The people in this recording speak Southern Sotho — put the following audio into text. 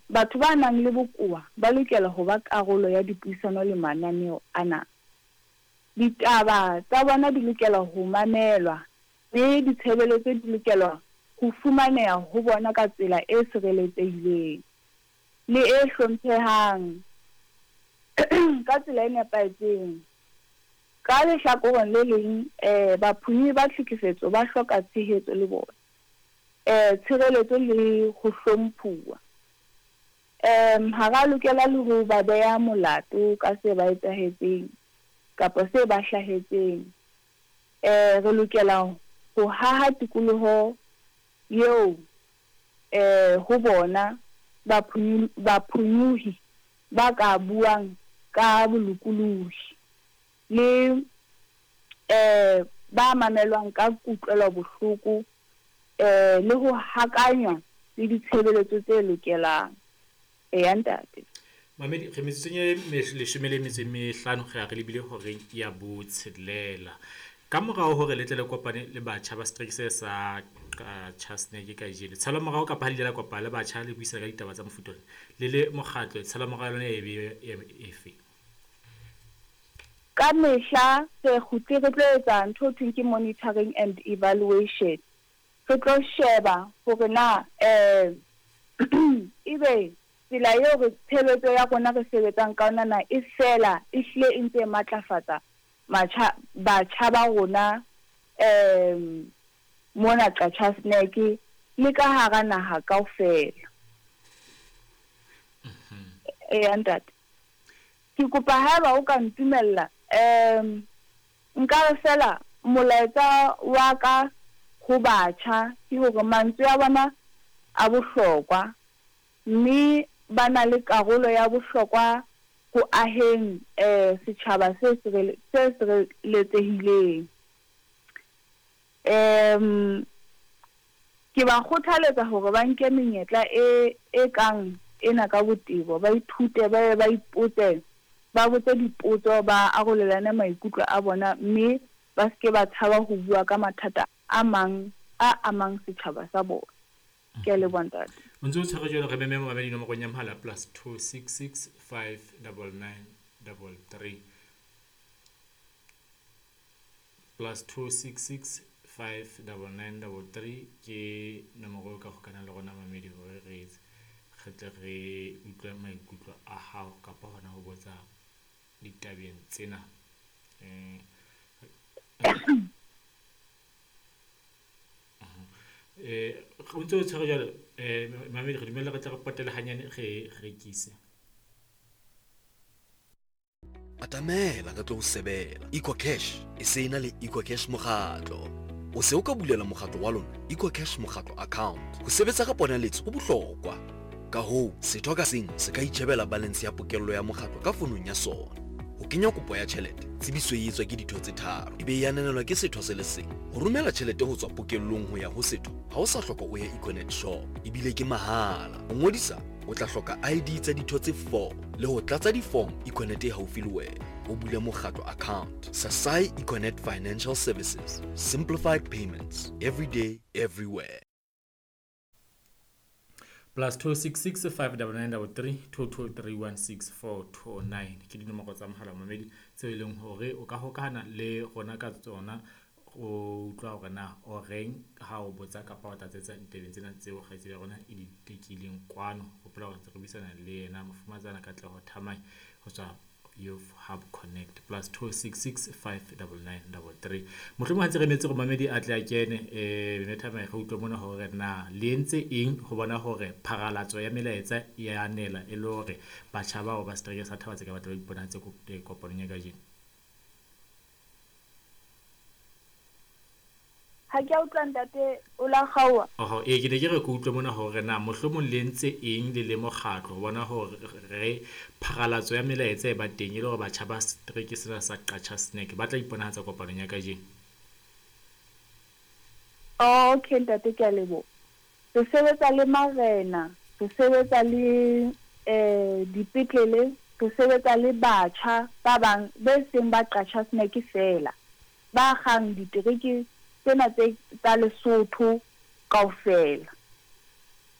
Batho ba nang le bokowa ba lokela ho ba karolo ya dipuisano le mananeo ana. Ditaba tsa bona di lokela ho mamelwa mme ditshebeletso di lokelwa ho fumaneha ho bona ka tsela e sireletsehileng le e hlomphehang ka tsela e nepahetseng. Ka lehlakoreng le leng, baphonyohi ba tlhekefetso ba hloka tshehetso le bona, tshireletso le ho hlomphuwa. Ha ra lokela le ho ba beha molato ka se ba etsahetseng kapa se ba hlahetseng. Re lokela ho haha tikoloho eo ho bona baphonyohi ba ka buang ka bolokolohi le ba mamelwang ka kutlwelobohloko le ho hakanywa le ditshebeletso tse lokelang. Eya, ntate. Mamedi, re metsotsong e leshome le metso e mehlano re ya re lebile horeng ya botshelela. Ka morao hore le tle le kopane le batjha ba setereke se sa Qachaseneke kajeno, tshalomorao kapa ha le ile la kopana le batjha le buisana ka ditaba tsa mofuta ona, le le mokgatlo, tshalomorao ya lona e be efe? Ka mehla re kgutle re tlo etsa ntho ho thweng ke monitoring and evaluation. Re tlo sheba hore na ebe tsela eo re tshebetso ya rona re sebetsang ka yona na e fela e hlile e ntse e matlafatsa matjha batjha ba rona mona Qacha's Nek le ka hara naha kaofela. Eya ntate. Ke kopa haeba o ka ntumella, nka re feela molaetsa wa ka ho batjha ke hore mantswe a bona a bohlokwa mme ba na le karolo ya bohlokwa ho aheng setjhaba se sireletsehileng. Ke ba kgothaletsa hore ba nke menyetla e e kang ena ka botebo, ba ithute, ba be ba ipotse, ba botse dipotso, ba arolelane maikutlo a bona mme ba se ke ba tshaba ho bua ka mathata a mang a amang setjhaba sa bona. Ke a leboha ntate. O ntse o tshwere jwalo re meme momamedi nomorong ya mohala +266 599 33 +266 599 33 ke nomoro eo ka hokanang le rona mamedi hore re re tle re utlwe maikutlo a hao kapa hona ho botsa ditabeng tsena. O ntse o tshwere jwalo mamedi re dumelle re tle re potele hanyane re rekise. Atamela re tlo o sebela. EcoCash e se e na le EcoCash Mokgatlo. O se o ka bulela mokgatlo wa lona EcoCash Mokgatlo account. Ho sebetsa ka ponaletso ho bohlokwa. Ka hoo, setho ka seng se ka itjhebela balance ya pokello ya mokgatlo ka fonong ya sona. Ho kenya kopo ya tjhelete, tsebiso e etswa ke ditho tse tharo, e be e ananelwa ke setho se le seng. Ho romela tjhelete ho tswa pokellong ho ya ho setho, ha o sa hloka o ye Econet shop, ebile ke mahala. Ho ngodisa, o tla hloka ID tsa ditho tse 4 le ho tlatsa di-form Econet e haufi le wena. O bule mokgatlo account. Sasai Econet Financial Services. Simplified payments. Every day, everywhere. +266 599 33 223 ke dinomoro tsa mohala mamedi tseo e leng hore o ka hokahana le rona ka tsona o utlwa hore na o reng ha o botsa kapa o tlatsetsa ditabeng tsena tseo kgaitsedi ya rona e di tekileng kwano. Hopola hore ntse re buisana le yena Mofumatsana Katleho Thamai ho tswa Youth Hub Connect +266 599 33. Mohlomong ha ntse re emetse hore mamedi a tle a kene, Mme Thamai re utlwe mona hore na le entse eng ho bona hore pharalatso ya melaetsa e a nela e le hore batjha bao ba setereke sa Thaba-Tseka ba tle ba iponahatse kopanong ya kajeno. Ha ke a utlwa ntate o la kgaoha. Oho, ee ke ne ke re ke utlwe mona hore na mohlomong le entse eng le le mokgatlo ho bona hore re pharalatso ya melaetsa e ba teng e le hore batjha ba setereke sena sa Qacha's Nek ba tla iponahatsa kopanong ya kajeno. Okay ntate ke a leboha. Re sebetsa le marena, re sebetsa le dipetlele, re sebetsa le batjha ba bang be seng ba Qacha's Nek feela. Ba akgang ditereke tsena tse tsa Lesotho kaofela.